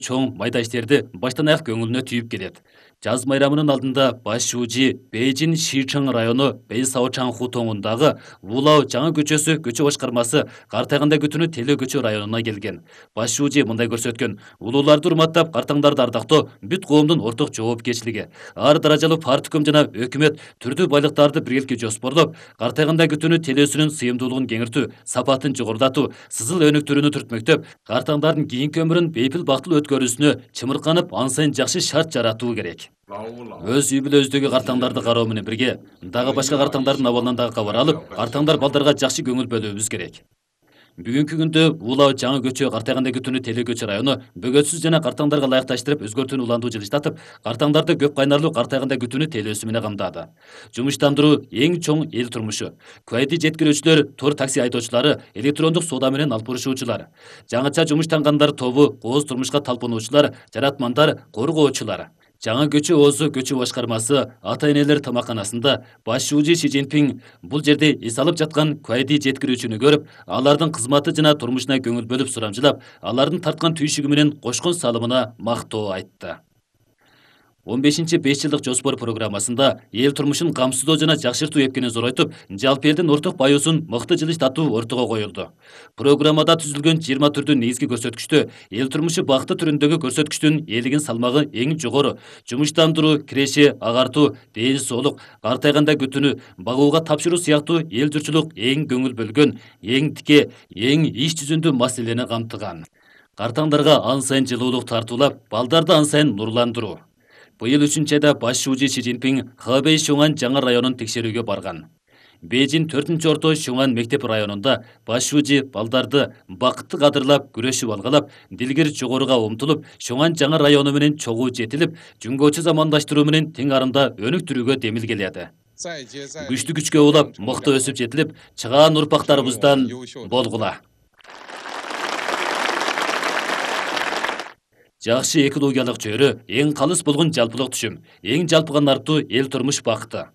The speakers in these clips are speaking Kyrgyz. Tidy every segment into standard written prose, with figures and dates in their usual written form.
чоң майда иштерди баштан аяк көңүлүнө түйүп келет. Жаз майрамынын алдында Баш Шужи Бейжин Шичың району Бейсаочан хутоңундагы Вулау жаңы көчөсү көчө башкармасы картайганда күтүнү Теле көчө районуна келген. Баш Шужи мындай көрсөткөн: улууларды урматтап, картаңдарды ардактоо бүт коомдун орток жоопкерчилиги. Ар даражалуу партком жана өкмөт түрдүү байлыктарды биргеликке жоспорлоп, картайганда күтүнү телөөсүнүн сыйымдуулугун кеңиртүү, сапатын жогорулатуу, сызыл өнүктүрүүнү түртмөктөп, картаңдардын кийинки өмүрүн бейпил бактылуу өткөрүүсүнө чымырканып, ан сайын жакшы шарт жаратуу керек. Өз үй бүлөбүздөгү картаңдарды кароо менен бирге дагы башка картаңдардын абалынан дагы кабар алып, картаңдар балдарга жакшы көңүл бөлүүбүз керек. Бүгүнкү күндө Улау жаңы көчө картайганда күтүнү Теле көчө району бөгөтсүз жана картаңдарга ылайыкташтырып өзгөртүүнү уландуу жылыштатып, картаңдарды көп кайнарлуу картайганда күтүнү телөөсү менен камдады. Жумуштандыруу эң чоң эл турмушу. Куайди жеткирүүчүлөр, тур такси айдоочулары, электрондук соода менен алып барышуучулар, жаңыча жумуштангандар тобу, кооз турмушка талпынуучулар, жаратмандар, коргоочулар. Жаңы көчө оозу көчө башкармасы ата-энелер тамакканасында Баш Шужи Си Цзиньпин бул жерде эс алып жаткан куайди жеткирүүчүнү көрүп, алардын кызматы жана турмушуна көңүл бөлүп сурамжылап, алардын тарткан түйшүгү менен кошкон салымына мактоо айтты. 15-5 жылдык жоспор программасында эл турмушун камсыздоо жана жакшыртуу эпкени зоройтуп, жалпы элдин орток баюусун мыкты жылыштатуу ортого коюлду. Программада түзүлгөн 20 түрдүү негизги көрсөткүчтө эл турмушу бакыты түрүндөгү көрсөткүчтүн элигин салмагы эң жогору, жумуштандыруу, киреше, агартуу, ден соолук, картайганда күтүнү, багууга тапшыруу сыяктуу эл журтчулук эң көңүл бөлгөн, эң тике, эң иш жүзүндүү маселени камтыган. Картаңдарга ан сайын жылуулук тартуулап, балдарды ан сайын нурландыруу. Быйыл 3 айда Баш Шужи Си Цзиньпин Хэбэй Шуңан жаңы районун текшерүүгө барган. Бейжин 4-орто Шуңан мектеп районунда Баш Шужи балдарды бакытты кадырлап, күрөшүп алгалап, дилгир жогоруга умтулуп, Шуңан жаңы району менен чогуу жетилип, жүнгөчү замандаштыруу менен тең арында өнүктүрүүгө демилгеледи. Күчтүү күчкө улап, мыкты өсүп жетилип, чыгаан урпактарыбыздан болгула. Жакшы экологиялык чөйрө эң калыс болгон жалпылык түшүм, эң жалпыганартуу эл турмуш бакыты.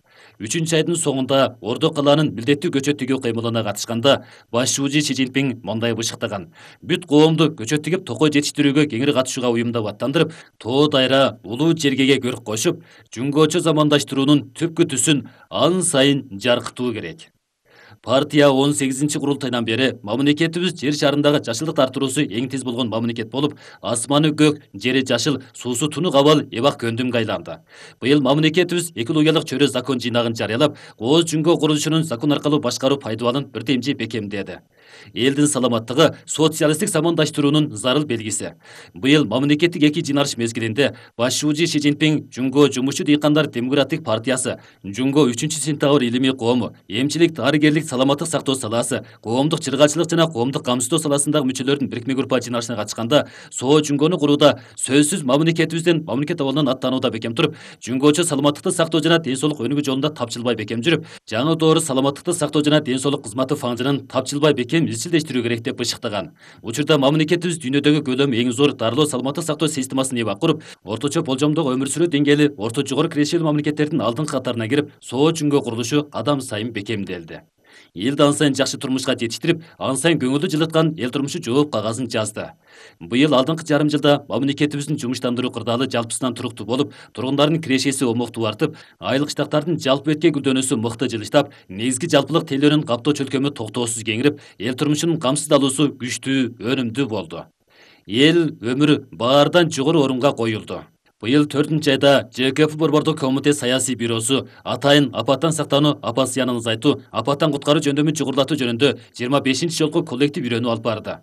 3 айдын соңунда Ордо калаанын милдеттүү көчөт тигүү кыймылына катышканда Баш Шужи Си Цзиньпин мындай бышыктаган: бүт коомду көчөт тигип токой жетиштирүүгө кеңири катышууга уюмдап аттандырып, тоо дайра, улуу жергеге көрк кошуп, жүнгөчө замандаштыруунун түпкү түсүн ан сайын жаркытуу керек. Партия 18-курултайдан бери мамлекетибиз жер шарындагы жашылдык арттыруусу эң тез болгон мамлекет болуп, асманы көк, жери жашыл, суусу тунук абал эбак көндүмгө айланды. Быйыл мамлекетибиз экологиялык чөйрө закон жыйнагын жарыялап, кооз жүнгө курулушунун закон аркылуу башкаруу пайдубалын бирдемчи бекемдеди. Элдин саламаттыгы социалисттик замандаштыруунун зарыл белгиси. Быйыл мамлекеттик эки жыйналыш мезгилинде Баш Шужи Си Цзиньпин Жүнгө жумушчу дыйкандар демократик партиясы, Жүнгө 3-сентябрь илимий кому, эмчилик, дарыгерлик, саламаттык сактоо салаасы, коомдук чыргачылык жана коомдук камсыздоо саласындагы мүчөлөрдүн бирикме группа жыйналышына катышканда, соо жүнгөнү курууда сөзсүз мамлекетибизден, мамлекет абалынан аттанууда бекем туруп, жүнгөчө саламаттыкты сактоо жана ден соолук өнүгүү жолунда тапчылбай бекем жүрүп, жаңы доор саламаттыкты сактоо жана ден соолук кызматы фаңжынын тапчылбай бекем изчилдештирүү керек деп бышыктаган. Учурда мамлекетибиз дүйнөдөгү көлөмү эң зор дарылоо саламаттык сактоо системасын эбак куруп, орточо болжомдогу өмүр сүрүү деңгээли орто жогору кирешелүү мамлекеттердин алдыңкы катарына кирип, соо жүнгө курулушу кадам сайын бекемделди. Элди ан сайын жакшы турмушка жетиштирип, ан сайын көңүлдү жылыткан эл турмушу жооп кагазын жазды. Быйыл алдыңкы жарым жылда мамлекетибиздин жумуштандыруу кырдаалы жалпысынан туруктуу болуп, тургундардын кирешеси омоктуу артып, айлык штаттардын жалпы бетке гүлдөнүүсү мыкты жылыштап, негизги жалпылык тейлөөнүн каптоо чөлкөмү токтоосуз кеңирип, эл турмушунун камсыздалуусу күчтүү, өнүмдүү болду. Эл өмүрү баардан жогору орунга коюлду. Быйыл 4 айда ЖКФ Борбордук комитет саясий бюросу атайын апаттан сактануу, апат зыянын азайтуу, апаттан куткаруу жөндөмүн чугурлатуу жөнүндө 25-жолку коллектив үйрөнүү алып барды.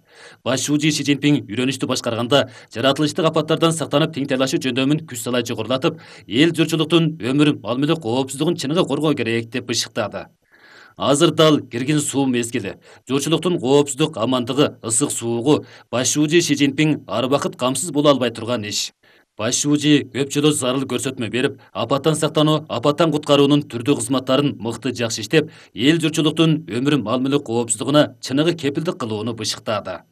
Баш Шужи Си Цзиньпин үйрөнүштү башкарганда жаратылыштык апаттардан сактанып теңтайлашуу жөндөмүн күч салай жогорулатып, эл журтчулуктун өмүр, мал мүлк коопсуздугун чыныгы коргоо керек деп бышыктады. Азыр дал киргин суу мезгили. Журтчулуктун коопсуздук, амандыгы, ысык суугу Баш Шужи Си Цзиньпин ар убакыт камсыз боло албай турган иш. Баш Шужи көп жолу зарыл көрсөтмө берип, апаттан сактануу, апаттан куткаруунун түрдүү кызматтарын мыкты жакшы иштеп, эл журтчулуктун өмүр, мал мүлк коопсуздугуна чыныгы кепилдик кылууну бышыктады.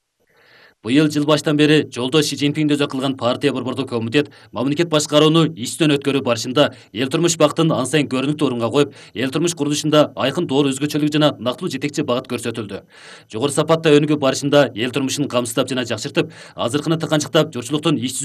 Быйыл жыл баштан бери жолдо Си Цзиньпинди өзөк кылган партия борбордук комитет мамлекет башкарууну ичтен өткөрүү барышында эл турмуш бактын ан сайын көрүнүктүү орунга коюп, эл турмуш курулушунда айкын доор өзгөчөлүк жана нактылуу жетекчи багыт көрсөтүлдү. Жогору сапатта өнүгүү барышында эл турмушун камсыздап жана жакшыртып, азыркыны тыканчыктап, журтчулуктун иш